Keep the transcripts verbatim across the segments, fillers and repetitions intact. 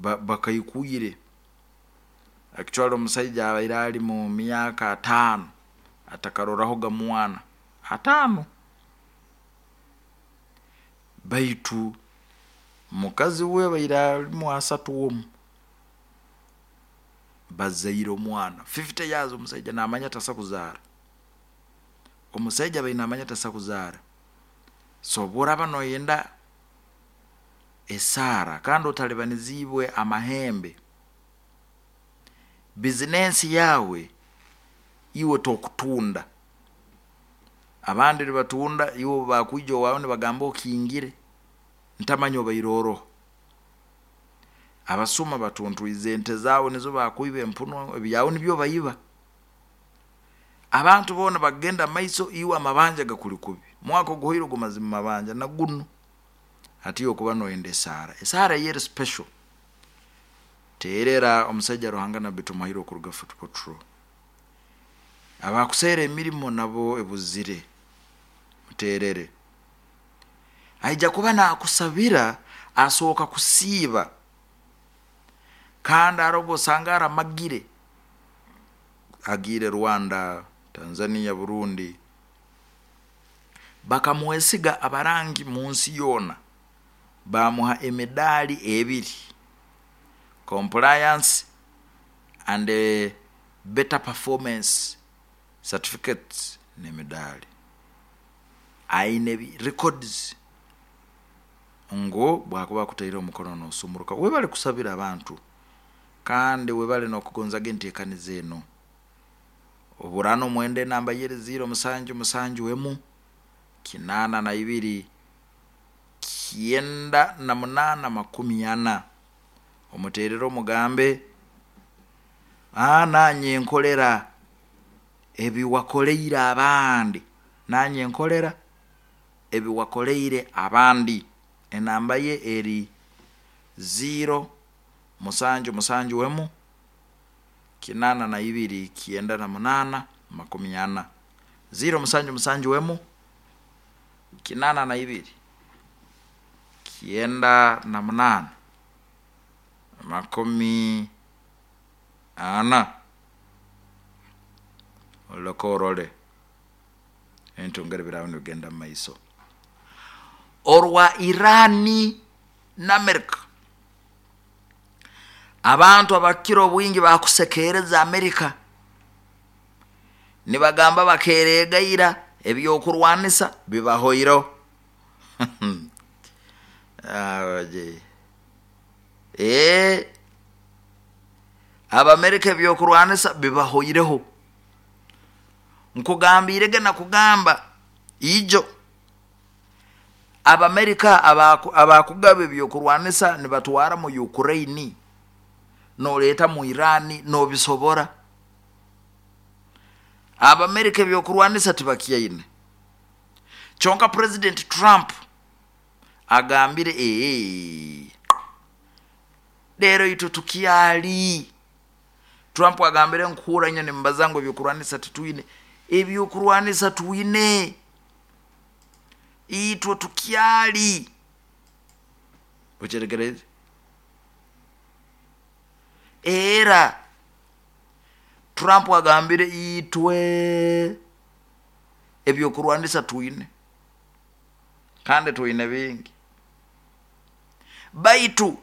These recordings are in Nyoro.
Bakaikwire actually omusaija abaire ali mu myaka ataano atakarorahoga mwana ataano, baitu mukazi we abaire alimu asatu omu, bazaire omwana fifty years. Omusaija namanya tasa kuzaara, omusaija abaire namanya tasa kuzaara. So obworaba noyenda esaara kandi otalibanizibwe amahembe, bizinensi yawe iwe tokutunda, abandi nibatunda, iwe bakwija owawe nibagamba okingire, ntamanya obaire oroha. Abasuma batuntwize ente zawe, nizo bakwiba, empunu ebyawe nibyo baiba. Abantu boona bagenda mumaiso, iwe amabanja gakuli kubi, mwaka oguhoire ogumazire mumabanja, nagunu hati okuba noyenda esaara, esaara eyeri special. Terera omusaija Ruhanga Nabbi Tumuhaire okuruga Fort Portal. Abakuseera emirimo nabo ebuzire, muterere, aija kuba nakusabira, asooka kusiiba, kandi haroho obwosanga aramagire, agiire Rwanda, Tanzania, Burundi, bakamwesiga abarangi munsi yoona, bamuha emidaali ebiri, compliance and better performance certificates n'emidaali, aine records ngu bwakuba akutaireho omukono nosumuruka. Webale kusabira abantu, kandi webale n'okugonzaga enteekaniza enu. Oburano mwenda enamba yeri ziro musanju musanju emu kinaana na ibiri kyenda na munaana makumi ana, omuterere omugambe, nanye nkolera ebiwakoleire abandi, nanye nkolera ebiwakoleire abandi. Enamba ye eri ziro musanju musanju emu kinaana na ibiri kyenda na munaana makumi ana, ziro musanju musanju emu kinaana na ibiri kyenda na munaana makumi ana. Oleke orole ebintu ngeri biraba nibigenda mumaiso. Orwa Irani na America, abantu abakukira obwingi bakusekereza America, nibagamba bakeregaira ebyokurwanisa bibahoireho. Abamerika ebyokurwanisa bibahoireho. Nkugambirege nakugamba ijo Abamerika abakugaba ebyokurwanisa nibatwara mu Ukraine, noleeta mu Irani nobisobora. Abamerika ebyokurwanisa tibakyaine, kyonka President Trump agambire ee leero itwe tukyali. Trump agambire nkuhura nyo nimbaza ngu ebyokurwanisa titwine, ebyokurwanisa twine, itwe tukyali. Okyetegereze? Era Trump agambire itwe ebyokurwanisa twine, kandi twine bingi, baitu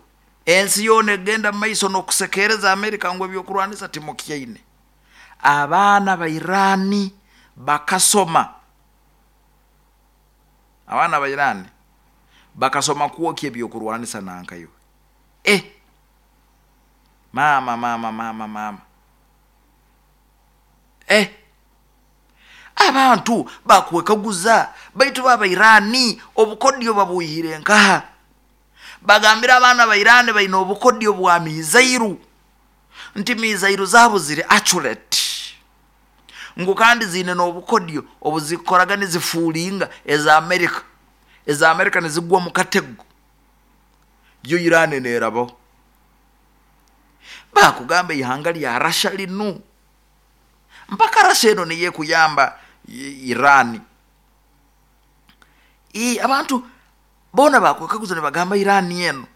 ensi yoona egenda mumaiso n'okusekereza Amerika ngu ebyokurwanisa timukyaine. Abaana ba Irani bakasoma, abaana ba Irani bakasoma kwokya ebyokurwanisa nankaiwe. Eh, mama mama mama mama, eh, abantu bakwekaguza, baitu baba Irani obukodyo babwihire nkaha? Bagambira abaana ba Irani baine obukodyo bwa mizairu, nti mizairu zaabo ziri accurate, ngu kandi ziine n'obukodyo obuzikoraga nizifuulinga eza Amerika, eza Amerika nizigwa mu katego, yo Irani nerabaho. Bakugamba ihanga lya Rasha linu, mpaka Rasha eno niyo ekuyamba Irani. I abantu boona bakwekaguza nibagamba Irani eno